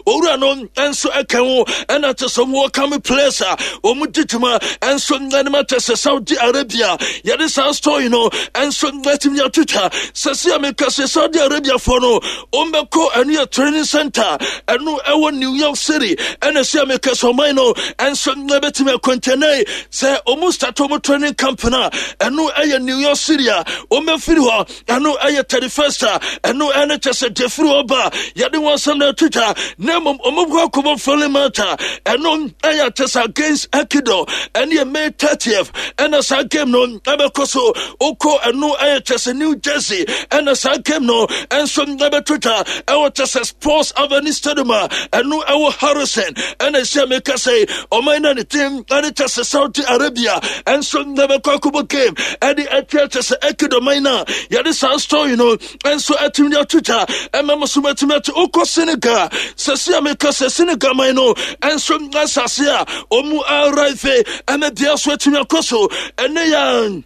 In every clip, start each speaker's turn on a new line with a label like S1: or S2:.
S1: Owura no nso ɛka ho ɛna kyɛ sɛ wɔn kame players a wɔn di dwuma nso ɛnum akyɛ sɛ Saudi Arabia yɛde saa story no nso ɛtumi atwitwa sɛ si a meka sɛ Saudi Arabia foɔ no wɔn bɛkɔ ɛno yɛ training center ɛno ɛwɔ New York City ɛna si a meka sɛ ɔman no nso ɛbɛtumi akɔntɛnɛ sɛ wɔn start wɔn training camp no a ɛno ɛyɛ New York City a wɔn bɛfiri hɔ ɛno ɛyɛ 31st a ɛno ɛne kyɛ sɛ deɛ firi hɔ ba yɛde wɔn asɛm no ato dwa na mmom ɔmobɔ akɔbɔ friendly match a ɛno ɛyɛ kyɛ sɛ against Ecuador ɛne yɛ May 30th ɛna saa game no ɛbɛkɔ so wokɔ ɛno ɛyɛ kyɛ sɛ New Jersey ɛna saa game no ɛnso ɛbɛto dwa ɛwɔ kyɛ sɛ Sports Avenue Stadium a ɛno ɛwɔ Harrison ɛna ɛhyɛ meka sɛ ɔman no ne team ɛne kyɛ sɛ Saudi Arabia ɛnso ɛbɛkɔ akɔbɔ game ɛde ɛkyerɛ kyɛ sɛ Ecuador man no a yɛde saa story no ɛnso atumi de ato dwa ɛma mo so matumi ate wokɔ Senegal sɛ si a meka sɛ Senegal man no ɛnso asase a ɔmu arrive ɛma bia so atumi akɔ so ɛne yɛn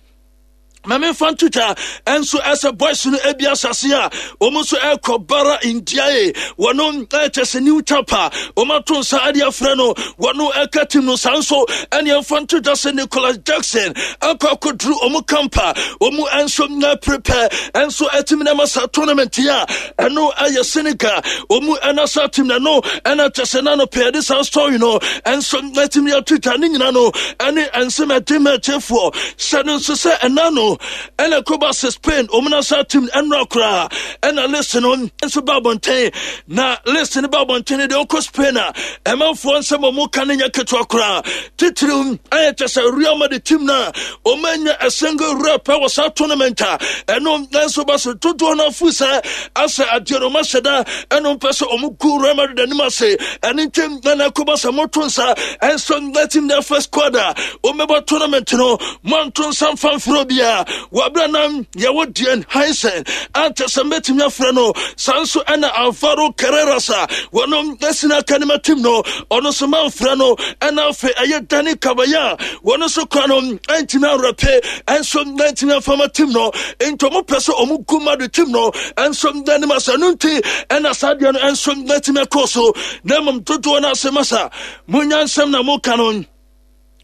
S1: ma memfa nto dwa ɛnso ɛsɛ boys no ebi asase a wɔn nso ɛkɔ bara ndiae wɔn ɛkyɛ sɛ new chapter wɔn ato nsa ɛde afrɛ no wɔn ɛka team no saa nso ɛne ɛmfa nto dwa sɛ Nicholas Jackson akɔ akɔduru wɔn kampa wɔn ɛnso na prepare ɛnso ɛtumi na ɛma saa tournament yi a ɛno ɛyɛ Senegal wɔn ɛna saa team na ɛno ɛna kyɛ sɛ n'ano pɛ ɛde saa story no ɛnso ɛtumi ato dwa ne nyina no ɛne ɛnsɛm ɛde mɛkyefoɔ Hyɛ no nso sɛ ɛna no ɛna ɛkɔba sɛ Spain wɔn nasa team ɛnora koraa ɛna list no nso ba abɔnten na list no ba abɔnten deɛ ɔkɔ Spain a ɛmanfoɔ nsɛm wɔn ka no nyɛ ketewa koraa titiriw ɛyɛ kyɛ sɛ Real Madrid team no a wɔn anya a single rep ɛwɔ saa tournament a ɛno nso ba so dodoɔ no afu sɛ asɛ adeɛ no wɔn ahyɛ da ɛno mpɛ sɛ wɔn gu Real Madrid anim ase ɛne nkyɛn ɛna ɛkɔba sɛ moto nsa ɛnso na team na first squad a wɔbɛbɔ tournament no moanto nsa mfa mfrɛ obiara wɔaberɛ na yɛwɔ Dean Huijsen ankyɛ sɛ mɛtumi afrɛ no saa nso ɛna Alvaro Carreras a wɔno asina aka ne ma team no ɔno nso mamfrɛ no ɛna afei ɛyɛ Dani Carvajal wɔno nso kora no ɛntumi awerɛpe ɛnso ɛntumi amfa ma team no nti ɔmo pɛ sɛ ɔmo gu Madrid team no ɛnso n'anim asɛ no nti ɛna saa deɛ no ɛnso ɛtumi ɛkɔɔ so na mmom dodoɔ no ase masa monya nsɛm na moka no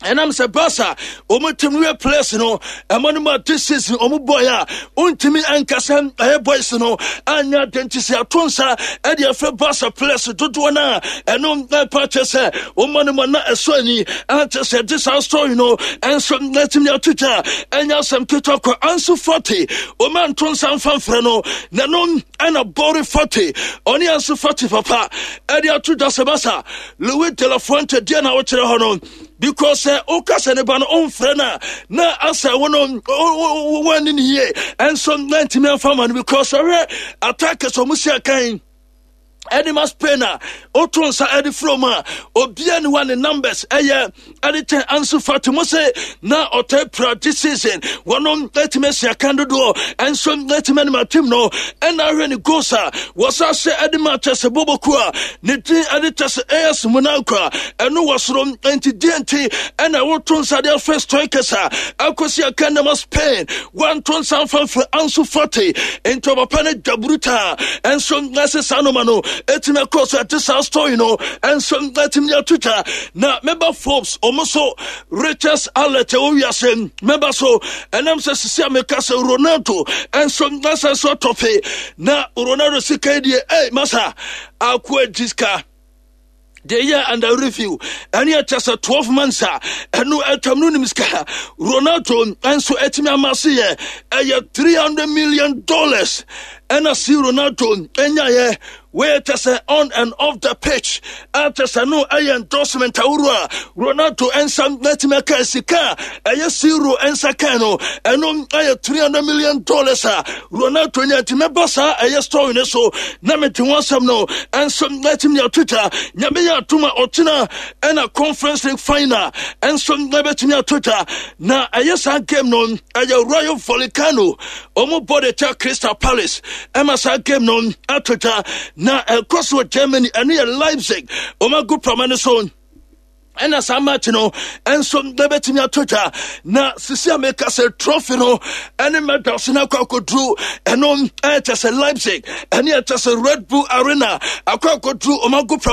S1: ɛnam sɛ Barca wɔn team no yɛ players no ɛma no ma this season wɔn bɔɔl a wɔntumi nkasa ɛyɛ boys no anya ade nti sɛ ato nsa ɛde ɛfɛ Barca players dodoɔ no a ɛno ɛpa kyɛ sɛ wɔn ma no ma na ɛsɔ ani ankyɛ sɛ ɛde saa story no ɛnso ɛtumi ato dwa ɛnyɛ asɛm ketewa kɔ Ansu Fati wɔn anto nsa mfa mfrɛ no na no ɛna Bori Fati ɔne Ansu Fati papa ɛde ato dwa sɛ basa Luis de la Fuente deɛ na wokyerɛ hɔ no because sɛ woka sɛ ne ba no ɔmfrɛ no a na asɛ wo no woanni ne yie ɛnso na ntumi amfa ma no because ɔhwɛ attackers ɔmo si akan ɛde ma Spain a woto nsa ɛde frɛ mu a obia ne wa ne numbers ɛyɛ ɛde kyɛn Ansu Fati mo se na ɔtaa pira this season wɔnom atumi asi akan dodoɔ ɛnso atumi anim atim no ɛna ahwɛ ne goals a wɔsa hyɛ ɛde ma kyɛ sɛ boboku a ne din ɛde kyɛ sɛ AS Monaco a ɛno wɔ soro nti deɛ nti ɛna woto nsa de afɛ strikers a akɔsi akan nama Spain wanto nsa mfa mfrɛ Ansu Fati nti ɔpapa no dwa brutal ɛnso ɛsɛ saa noma no ɛtumi akɔ so ɛte saa story no ɛnso ɛtumi ato twa na mɛba Forbes ɔmo so Richards alert ɛwɔ wiase mɛba so ɛnam sɛ sisi a meka sɛ Ronaldo ɛnso ɛsɛ so atɔfe na Ronaldo sika yi deɛ ɛy masa akoa gyi sika deɛ yɛ under review ɛne ɛkyɛ sɛ 12 months a ɛno atwam no nim sika Ronaldo nso atumi ama se yɛ ɛyɛ $300 million ɛna si Ronaldo ɛnyaeɛ wei kyɛ sɛ on and off the pitch akyɛ sɛ no ɛyɛ endorsement ahorow a Ronaldo nsa n'atumi aka sika a ɛyɛ zero nsa kan no ɛno ɛyɛ $300 million a Ronaldo nya. Nti mɛba saa ɛyɛ story no so na mede ho asɛm no ɛnso n'atumi atwitwa. Nyame yɛ atom a ɔkyena ɛna Conference League final ɛnso ɛbɛtumi atwitwa na ɛyɛ saa game no ɛyɛ Rayo Vallecano ɔmo bɔ de kyɛ Crystal Palace ɛma saa game no atwitwa na ɛkɔ so wɔ Germany ɛno yɛ Leipzig ɔmo agu prama no so ɛna saa match no ɛnso ɛbɛtumi ato dwa na sisi a meka sɛ trophy no ɛne medals no akɔ akɔduru ɛno ɛkyɛ sɛ Leipzig ɛne ɛkyɛ sɛ Red Bull Arena akɔ akɔduru ɔmo ago prama.